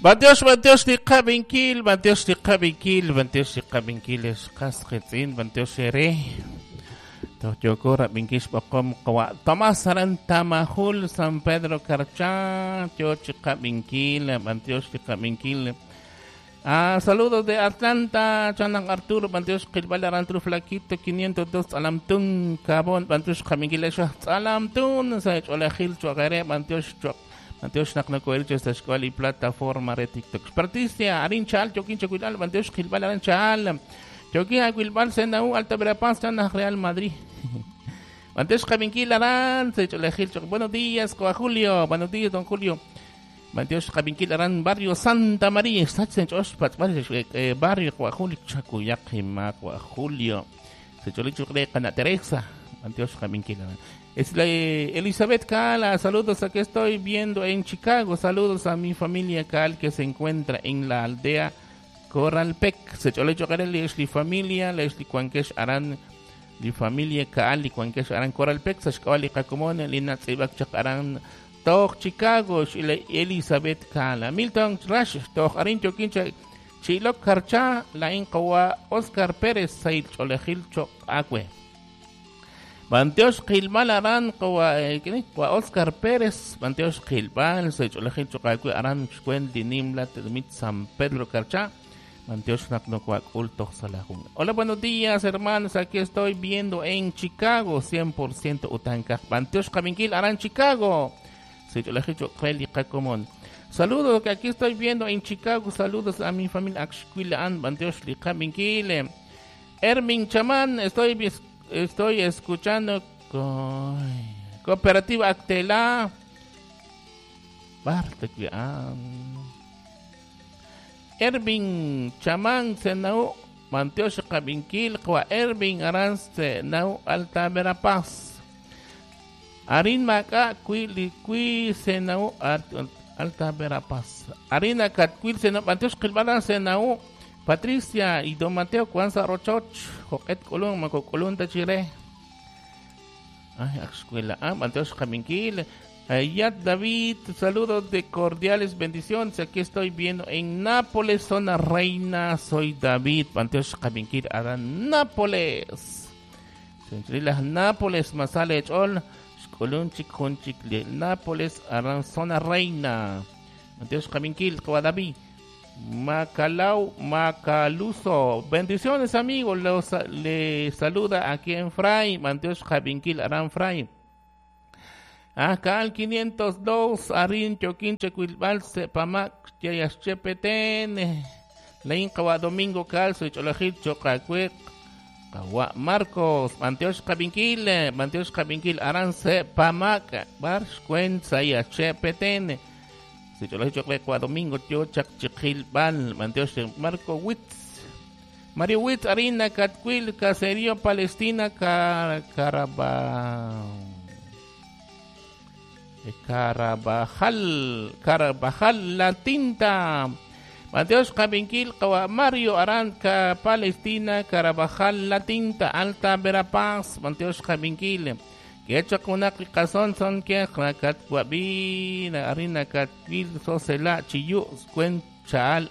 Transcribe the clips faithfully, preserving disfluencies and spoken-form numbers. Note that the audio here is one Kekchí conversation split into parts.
Bantiox, bantiox, liqabinkil, bantiox, liqabinkil, bantiox, liqabinkil, esqas qitzin, bantiox ere. Tohyoko rabinkish boqom qawa. Tomás Aran Tamajul, San Pedro Carchá, Tioch qabinkil, bantiox, liqabinkil. Ah, saludos de Atlanta, Chanan Arturo, Bantiox, Qilbal, Arantru Flaquito, quinientos dos, Alamtun, Cabón, Bantiox, Qabinkil, Alamtun, Saich, Olajil, Chuagare, Bantiox, Chuag. Bantiox naknakoelche esta escuela y plataforma de TikTok. Patricia, Arin Chal, Choquín Choquilal, Bantiox Gilbal, Arin Chal, Choquín Aguilbal, Senau, Alta Verapaz, Chana Real Madrid. Bantiox Cabinquil, Arán, Secholejil, buenos días, Coa Julio, buenos días, don Julio. Bantiox Cabinquil, Arán, Barrio Santa María, Barrio Coa Julio, Chacuyaqima, Coa Julio, Secholicho Cana Teresa, Bantiox Cabinquil, Arán. Es la, Elizabeth Cala, saludos, aquí estoy viendo en Chicago, saludos a mi familia Cal que se encuentra en la aldea Coralpec, se chole li familia, lesli cuanquesh aran, li familia Cal, li cuanquesh aran Coralpec, sashkawali kakumone, lina tzibak chak aran, toch Chicago, Elizabeth Cala, Milton Rash, toch arin choquincha, Chilok Karcha, la inqawa Oscar Pérez, sail cholejil chok akwe. Bantiox Qilbal Aran wa Oscar Pérez, Bantiox Qilbal, Seycholejil Choqakui Aran Xcuen Dinimla Tedmit San Pedro Carchá, Bantiox Naknocuac Ultox Salajun. Hola, buenos días, hermanos, aquí estoy viendo en Chicago, cien por ciento Utanca. Bantiox Qabinkil Aran Chicago, Seycholejil Choqeli Qacomón. Saludos, que aquí estoy viendo en Chicago, saludos a mi familia Axcuilaan, Bantiox Liqabinkil. Ermin Chamán, estoy Estoy escuchando con Cooperativa Actela. Ervin Chamán Senau Mantiox Qabinkil Kwa Ervin Aran Senau Alta Verapaz. Arin Maca Kui Kui Senau Alta Verapaz. Arina Katkuil Senau Mantiox Qilbalan Senau Patricia y Don Mateo Cuanza Rochoch, Joquet Colón, Maco Colón Tachire. Ay, escuela. Ah, Mateo Jaminquil. Ayat David, saludos de cordiales bendiciones. Aquí estoy viendo en Nápoles, zona reina. Soy David, Mateo Jaminquil, Adán Nápoles. Centrilas Nápoles, Masale Chol, Colón Chicón Chicle, Nápoles, Arán, zona reina. Mateo Jaminquil, David. Macalau Macaluso, bendiciones amigos, los, le saluda aquí en Fray, Manteos Javinquil Aran Fray. Acá al quinientos dos, Arin Choquín Checuilbal, Sepamac, Yayaschepeten, Leincawa Domingo Calzo, Cholajil Chocacuec, Kawa Marcos, Manteos Javinquil, Manteos Javinquil Aran Sepamac, Barsh Cuenza Yachepeten. Domingo, Tio Chakchiquilbal, Manteos Marco Witz, Mario Witz, Arina, Catquil, Caserío, Palestina, Car Caraba, Carabajal, Carabajal, La Tinta, Mateos Cabinquil, Mario Aranca, Palestina, Carabajal, La Tinta, Alta Verapaz, Mateos Cabinquil. Quecha kunak kason son que kat wabi na arina kat wil sosela chiyu cuen chal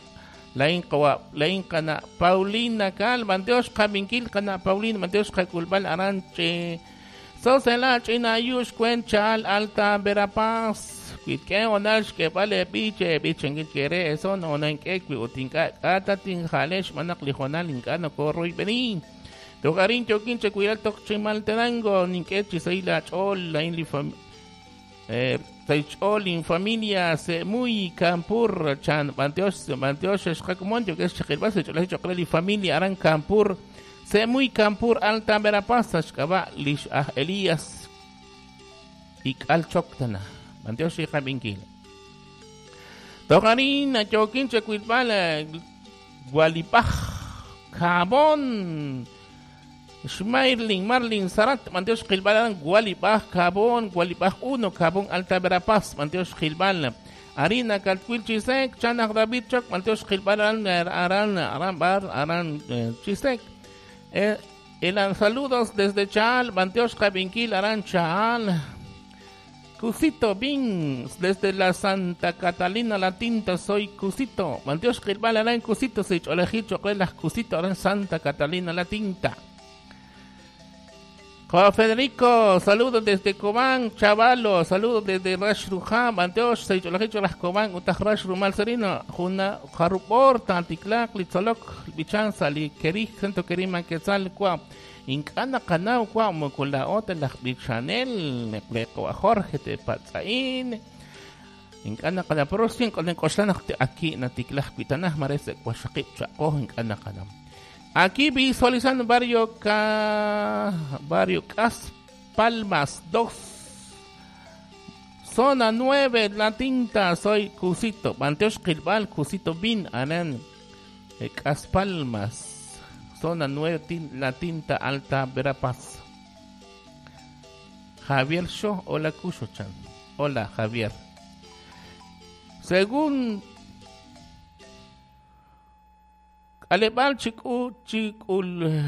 lain kawa lain kana Paulina kal Manteos kabinkil kana Paulina Manteos kakulbal aranche sosela china yush cuen chal Alta Verapaz quitke onash que vale biche biche ngil kere eso no nan ke utinka kata tin jalesh manak lijonal inkano corro y benin Togarin choquín checuiral toc chimaltenango, ninquechi seila chol, la inli fam eh chol in familia se muy campur chan manteos manteos escacumon yo que es chilbase chol chocreli familia aran campur se muy campur Alta Verapaz xcaba lish ah Elías ikal choctana manteos y jabinkil Togarin choquín checuilbal gualipaj Cabón Schmairling, Marlin, Sarat, Manteos Gilbal, Gualibaj, Cabón, Gualibaj uno, Cabón, Alta Verapaz, Manteos Gilbal, Arina, Calcuil, Chisek, Chanak, David, Choc, Manteos Gilbal, Aran, Aran, Bar, Aran, Chisek. Eh, el saludos desde Chal, Manteos Cabinquil, Aran, Chal. Cusito Bin, desde la Santa Catalina La Tinta, soy Cusito. Manteos Qilbal aran Cusito, se choleji choqle las Cusito aran Santa Catalina La Tinta. Juan Federico, saludos desde Cobán, Chavalo, saludos desde Rashrujá, Manteos, se choleji las Cobán, Utaj Rashrumal Serino, Juna, Jarupor, Tanticlac, Litzolok, Bichanza, Li Kerij, Sento Kerima, Quetzal, Cuau. Ink'ana qanaw kwa mukulaot laj bichanel neqleqwa Jorge te patzain ink'ana qana pero sin con k'oxlanaj te aquí natiklaj kuitanaj marese kwashaqib chaqoj ink'ana qanam aquí visualizando barrio K barrio Cas Palmas dos zona nueve La Tinta, soy Cusito Manteox Qilbal Cusito Bin anan Cas Palmas zona nueve, La Tinta, Alta Verapaz. Javier Shaw, hola Cucho Chan. Hola Javier. Según Alebal Chiku Chikul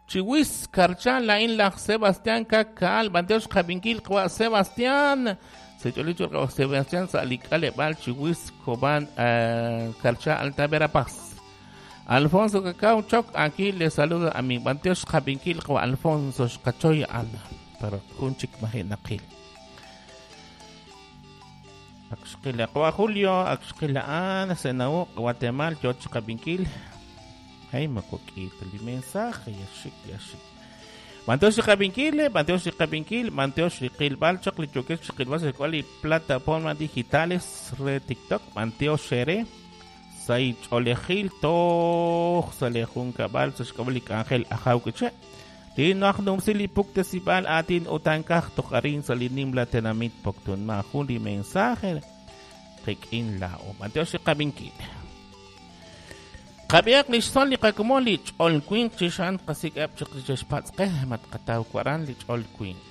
Chiwis Karchan la in la Sebastián Kakal Bandeos Javinkil Sebastián Secholicho Sebastián Salik Alebal Chiwis Coban Karcha Alta Verapaz. Alfonso Cacao Choc, aquí le saluda a mi Banteos Javinkil Alfonso Cachoy Ana, pero kunchik mahinakil. Axquila Kwa Julio, Axquila Ana, Senau, Guatemala, Yoch Javinkil. Ay, macoquito, el mensaje, yashik, yashik. Banteos Javinkil, Banteos Javinkil, Banteos Qilbal, Choc, Lichoquet, Qilbal, Cual y plataformas digitales, red TikTok, Banteos Shere. Say cholejil toj salejun kabal sashkablik ángel ajaukiche tinaj numsili puktesibal atin utankaj toqarin salinim la tenamit poktun ma juli mensaje rikin lao Mateo qabinkil qabiaq lixson li qakumon li ch'olkuinq chixan qasik ab chiqchixpatzqej matqataw kuaran li ch'olkuinq.